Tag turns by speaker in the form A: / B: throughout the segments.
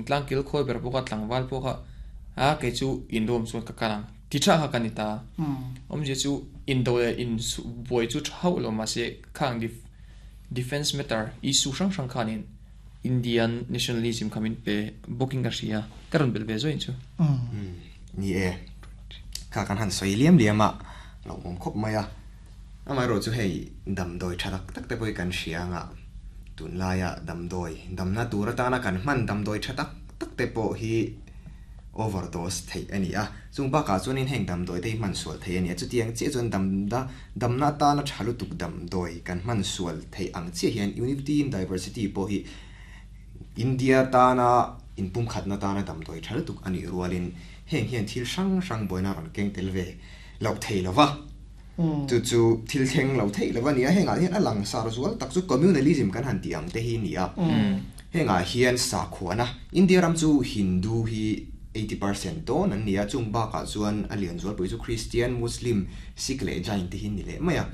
A: Thingtlang kil khawi ber pawh kha tlangval pawh kha a kei chu in room chuan ka kal ang ti tha kha ka ni ta. Awmzia chu indo leh in buai chu tha hauh lo mahse khang defence matter issue hrang hrang khanin Indian nationalism kha min pe bawkin ka hria. Ka rawn belh ve zawin chu.
B: Ni e, kha kan han sawi liam liam a, lo awm khawp mai a. Amaherawhchu hei damdawi tha tak tak te pawh hi kan hria anga tunlaia damdawi damna tur atana kan hman damdawi tha tak tak te pawh hi overdose theih a ni a. Chung bakah chuanin heng damdawi te hi hman sual theih a ni a. Chutiang chiah chuan damna damna atana tha lutuk damdawi kan hman sual theih ang chiah hian Unity in Diversity pawh hi India tana inpumkhatna tana damdawi tha lutuk a nih rualin heng hian thil hrang hrang buaina rawn keng tel ve loh thei lova. Chu chu thil thleng lo theih lo a ni a, hengah hian a langsar zual tak chu communalism kan han tih ang te hi a ni a. Hengah hian sakhuana, India ram chu Hindu hi 80% dawn an ni a, chung bakah chuan a lian zualpui chu Christian, Muslim, Sikh leh Jain te hi an ni leh mai a.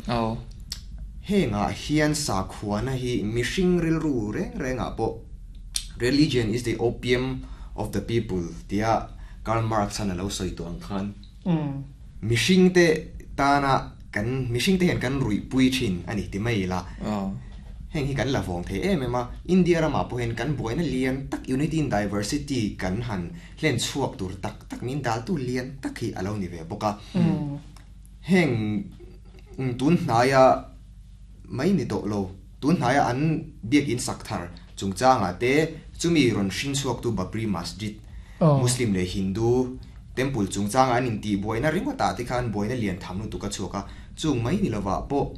B: Hengah hian sakhuana hi mihring rilru reng rengah pawh religion is the opium of the people tia Karl Marx-an a lo sawi tawh ang khan, Mihringte tana kan mihringte hian kan ruihpui thin a ni ti mai ila. Heng hi kan la vawng thei em em a, India ramah pawh hian kan buaina lian tak Unity in Diversity kan han hlen chhuak tur tak tak min daltu lian tak hi a lo ni ve bawk a. Heng tun hnaia mai ni tawh lo, tun hnaia an biakinn sak thar chungchangah te chumi rawn hring chhuaktu Babri Masjid, Muslim leh Hindu temple chungchanga an intih buaina ringawtah te khan buaina lian tham lutuk a chhuak a, chung mai ni lovah pawh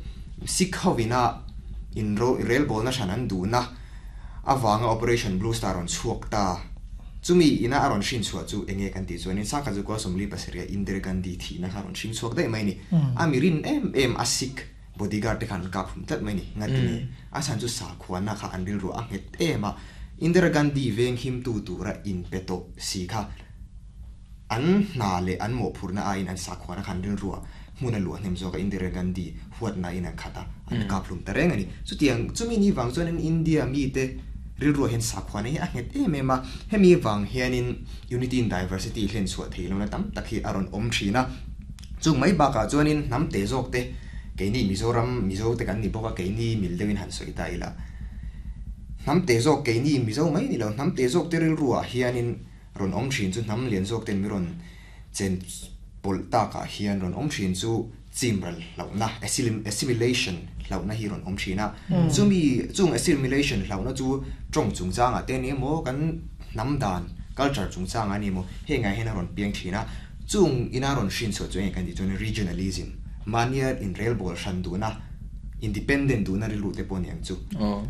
B: Sikh hovina inrelbawlna hran an duhna avanga Operation Blue Star rawn chhuak ta. Chumi ina a rawn hrin chhuah chu enge kan tih chuanin Sangkhat Zukua 47 a Indira Gandhi thihna kha a rawn hring chhuak daih mai a ni. A mi rin em em a Sikh bodyguard te khan an kap hum tlat mai a ni. Ngati nge? A chhan chu sakhuana kha an rilru a nghet em a, Indira Gandhi veng himtu tura inpe tawh si kha an hna leh an mawhphurhna aiin an sakhuana kha an rilru a hmun a luah hnem zawk a, Indira Gandhi huatna in an khat a, an kap hlum ta reng a ni. Chutiang chumi ni vang chuanin India mite rilruah hian sakhuana hi a nghet em em a, hemi vang hianin Unity in Diversity hlen chhuah theih lohna tam tak hi a rawn awm thin a. Chung mai bakah chuanin hnam te zawk te, keini Mizoram Mizo te kan ni bawk a, keini mil deuhin han sawi ta ila. Hnam te zawk keini Mizo mai ni lo, hnam te zawk te rilruah hianin rawn awm thin chu hnam lian zawk ten mi rawn chen pawlh takah hian rawn awm thin chu chimral hlauhna, assimilation hlauhna hi rawn awm thin a. Chumi chung assimilation hlauhna chu tawng chungchangah te ni emaw kan hnam dan, culture chungchangah ni emaw hengah hian a rawn piang thin a. Chung ina rawn hrin chhuah chu enge kan tih chuan regionalism, mahnia inrelbawl hran duhna, independent duhna rilru te pawh a ni ang chu.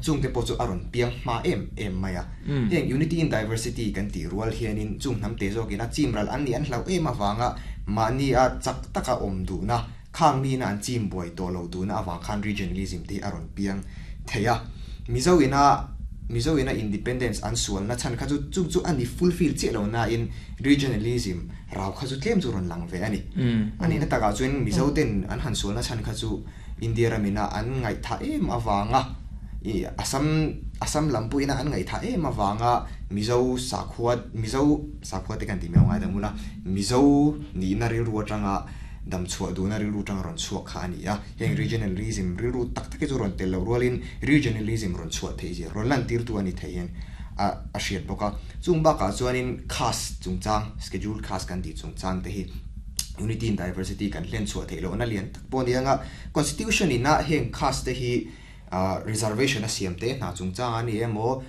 B: Chung te pawh chu a rawn piang hma em em mai a. Heng unity in diversity kan tih rual hianin chung hnam te zawkin a chim ral an nih an hlauh em avanga mahnia chak taka awm duhna, khang mina an chim buai tawh lo duhna avang khan regionalism te hi a rawn piang thei a. Mizo ina Mizo ina independence an sualna chhan kha chu chung chu a ni fulfill chiah lo nain regionalism rau kha chu tlem chu rawn lang ve a ni. A nihna takah chuan Mizo ten an han sualna chhan kha chu India ramina an ngaihthah em avanga i Assam Assam lam pawhina an ngaihthah em avanga Mizo sakhua Mizo sakhua te kan tih mai ang ngaidam ula Mizo nihna rilru atanga dam chhuah duhna rilru tanga rawn chhuak kha a ni a. Heng regionalism rilru tak tak hi chu rawn tel loh rualin regionalism rawn chhuah theih zia rawn lantirtu a ni thei hian a a hriat bawk a. Chung bakah chuanin caste chungchang, scheduled caste kan tih chungchang te hi unity in diversity kan hlen chhuah theih lohna lian tak pawh a ni ang a. Constitution ina heng caste te hi reservation a siam te hna chungchang a ni emaw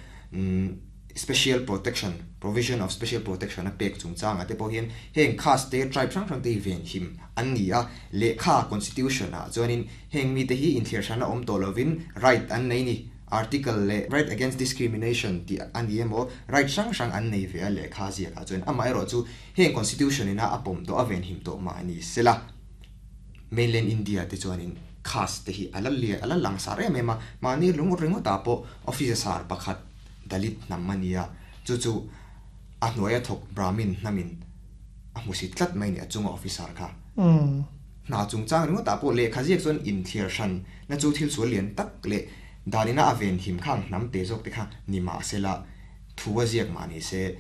B: special protection, provision of special protection a pek chungchangah te pawh hian heng caste te, tribe hrang hrang te hi venhim an ni a, lehkha, constitution, ah chuanin heng mite hi inthliar hran a awm tawh lovin right an nei ni, article leh right against discrimination tih a ni emaw right hrang hrang an nei ve a lehkha ziakah chuan amaherawh chu heng constitution ina a pawm tawh a venhim tawh mah ni sela. Mainland India te chuanin caste te hi a la lian a la langsar em em a, mahni lung ringawtah pawh officer sar pakhat Dalit hnam a ni a, chu chu a hnuaia thawk Brahmin hnamin a hmusit tlat mai a ni a chunga officer kha. Hna chungchang ringawtah pawh lehkha ziak chuan inthliar hran na chu thil sual lian tak leh danina a venhim khang hnam te zawk te kha ni mahsela thu a ziak mah ni se.